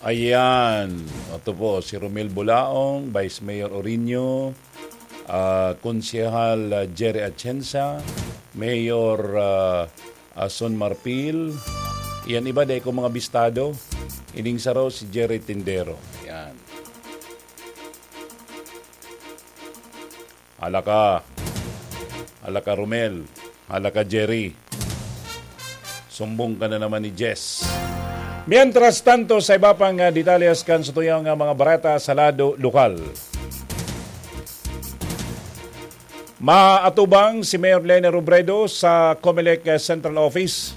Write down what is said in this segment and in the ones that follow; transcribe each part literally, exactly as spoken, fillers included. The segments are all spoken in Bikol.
Ayan. Ito po, si Romel Bulaong, Vice Mayor Orino, ah, Konsehal, ah, Jerry Atienza, Mayor, ah, ah, Son Marfil. Yan iba, dai ko mga bistado. Ining saro, si Jerry Tindero. Yan. Hala ka. Hala ka, Romel. Hala ka, Jerry. Sumbong ka na naman ni Jess. Mientras tanto, sa iba pang, ah, detalles kan satuyang, ah, mga bareta sa lado lokal. Maatubang si Mayor Leni Robredo sa Comelec, ah, Central Office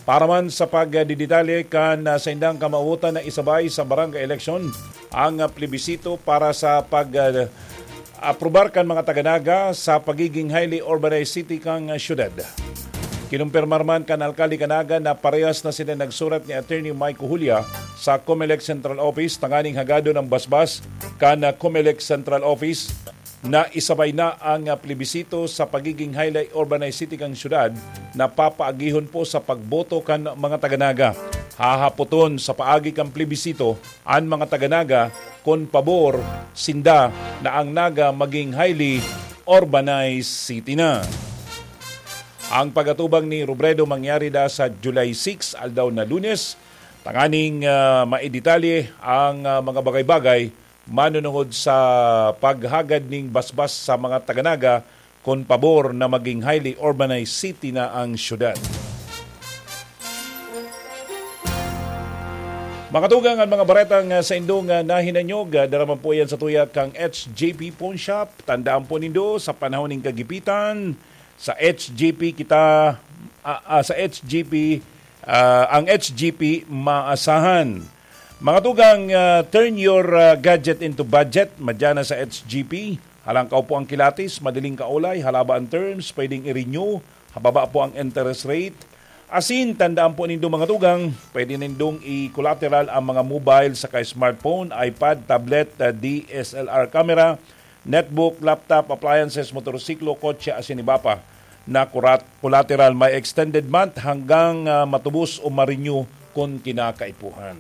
para man sa pagdidetalye kan, ah, saindang kamawotan na isabay sa barangay eleksyon ang, ah, plebisito para sa pag, ah, aprobar kan mga taga-Naga sa pagiging highly urbanized city kan, ah, syudad. Kinumpirmar man kan alkalde kan Naga na parehas na sila nagsurat ni Attorney Mike Julia sa Comelec Central Office tanganing hagadon ang basbas kan, ah, Comelec Central Office na isabay na ang, ah, plebisito sa pagiging highly urbanized city kan syudad na papaagihon po sa pagboto kan mga taga-Naga. Hahapoton sa paagi kan plebisito an mga taga-Naga kun pabor sinda na ang Naga maging highly urbanized city na. Ang pag-atubang ni Robredo mangyari da sa July six, aldaw na Lunes, tanganing, ah, maidetalye ang, ah, mga bagay-bagay manunungod sa paghagad ning basbas sa mga taga-Naga kun pabor na maging highly urbanized city na ang syudad. Makatugang ang mga baretang, ah, sa indong, ah, nahinanyog, ah, dara man po yan sa tuya kang H J P Pawn Shop. Tandaan po nindo, sa panahon ning kagipitan, sa H J P kita, ah, ah, sa H J P, ah, ang H J P maasahan. Mga tugang, ah, turn your, ah, gadget into budget. Madya na sa H G P. Halangkaw po ang kilatis, madaling kaulay, halaba ang terms, pwedeng i-renew, hababa po ang interest rate. Asin, tandaan po nindo mga tugang, pwede nindong i-collateral ang mga mobile saka smartphone, iPad, tablet, ah, D S L R camera, netbook, laptop, appliances, motorsiklo, kotse, asin iba pa na kurat-, collateral. May extended month hanggang, ah, matubos o ma-renew kun kinakaipuhan.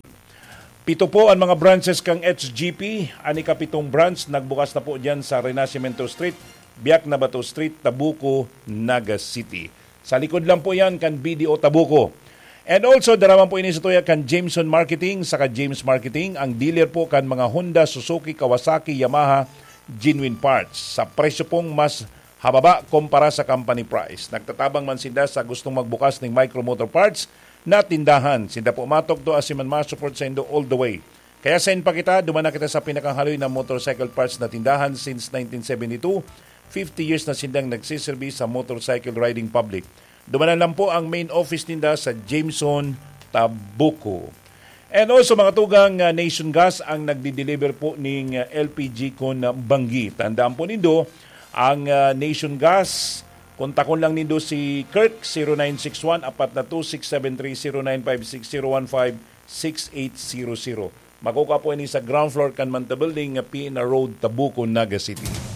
Pito po an mga branches kan H G P. An ikapitong branch nagbukas na po diyan sa Renacimiento Street, Biak na Bato Street, Tabuco, Naga City. Sa likod lang po yan kan B D O Tabuco. And also, dara man po ini sa tuya kan Jameson Marketing saka James Marketing, ang dealer po kan mga Honda, Suzuki, Kawasaki, Yamaha, genuine parts. Sa presyo pong mas hababa kumpara sa company price. Nagtatabang man sinda sa gustong magbukas ning Micro Motor Parts na tindahan. Sinda po matugto asin man ma-support saindo all the way. Kaya sain pa kita, duman na kita sa pinakahaloy na motorcycle parts na tindahan since nineteen seventy-two. Fifty years na sindang nagsiserbi sa motorcycle riding public. Dumanan lang po ang main office ninda sa Jameson, Tabuco. And also, mga tugang, ah, Nation Gas ang nagdi-deliver po ning, ah, L P G kun, ah, banggi. Tandaan po nindo, ang, ah, Nation Gas, kontakon lang nindo si Kirk, zero nine six one, apat na two six seven three, zero nine five six, zero one five, six eight zero zero. Makukua po ini sa ground floor kan Manta Building, P N R Road, Tabuco, Naga City.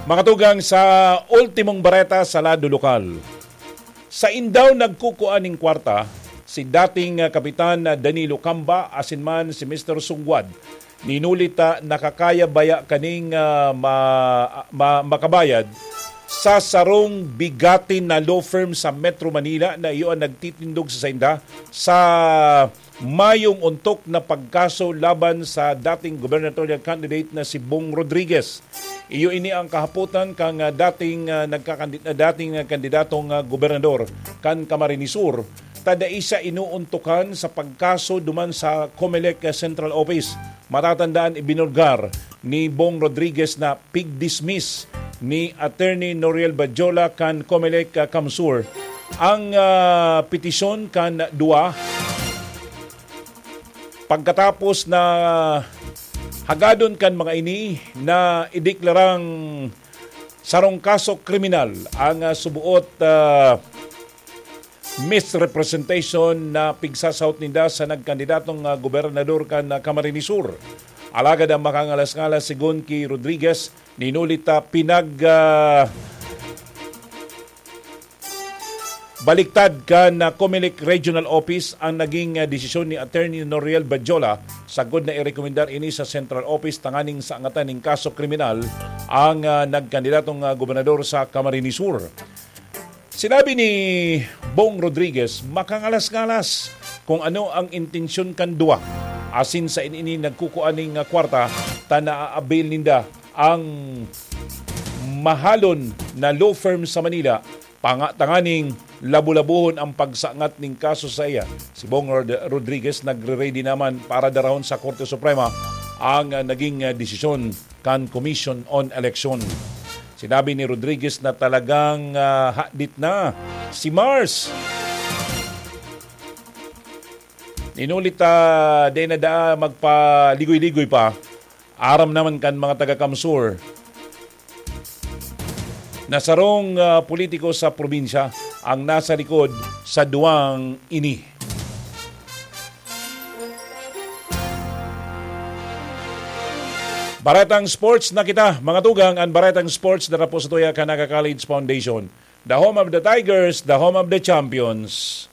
Mga tugang, sa ultimong bareta sa lado lokal. Sa indaw nagkukua ning kwarta, si dating, ah, Kapitan, ah, Danilo Camba asin man si Mister Sugwad. Ninuli ta, nakakaya baya kaning, ah, ma-, ma-, makabayad sa sarong bigatin na law firm sa Metro Manila na iyo ang nagtitindog sa sainda sa mayong ontok na pagkaso laban sa dating gubernatorial candidate na si Bong Rodriguez. Iyo ini ang kahapotan kan, ah, dating, ah, nagkakandi-, ah, dating, ah, kandidatong, ah, gobernador kan Camarines Sur, ta dai siya inuuntukan sa pagkaso duman sa Comelec, ah, Central Office. Matatandaan, ibinulgar ni Bong Rodriguez na pig-dismiss ni Attorney Noriel Badjola kan Comelec, ah, CamSur ang, ah, petisyon kan duwa. Pagkatapos na hagadon kan mga ini na ideklarang sarong kaso kriminal ang, ah, subuot, ah, misrepresentation na pigsasahot ninda sa nagkandidatong, ah, gobernador kan, ah, Camarines Sur. Alagad ang makangalas-ngalas, sigon ki Rodriguez, ninuli ta pinag, ah, Baliktad kan, ah, Comelec Regional Office ang naging, ah, desisyon ni Attorney Noriel Badjola sagkod na irekomendar ini sa Central Office tanganing saangatan ning kaso kriminal ang, ah, nagkandidatong, ah, gobernador sa Camarines Sur. Sinabi ni Bong Rodriguez, makangalas-ngalas kung ano ang intensyon kan duwa. Asin sa ini nagkukua ning, ah, kwarta ta naa-avail ninda ang mahalon na law firm sa Manila, panga tanganing labo-labohon ang pagsangat ning kaso saiya. Si Bong Rod-, Rodriguez nagre-ready naman para darahon sa Korte Suprema ang, ah, naging, ah, desisyon kan Commission on Election. Sinabi ni Rodriguez na talagang, ah, hadit na si Mars. Inulit, ah, di na daa magpaligoy-ligoy pa. Aram naman kan mga taga-Kamsur na sarong, ah, politiko sa probinsya ang nasa likod sa duwang ini. Baretang sports na kita, mga tugang, ang Baretang Sports na po sa tuya kan Naga College Foundation. The home of the Tigers, the home of the champions.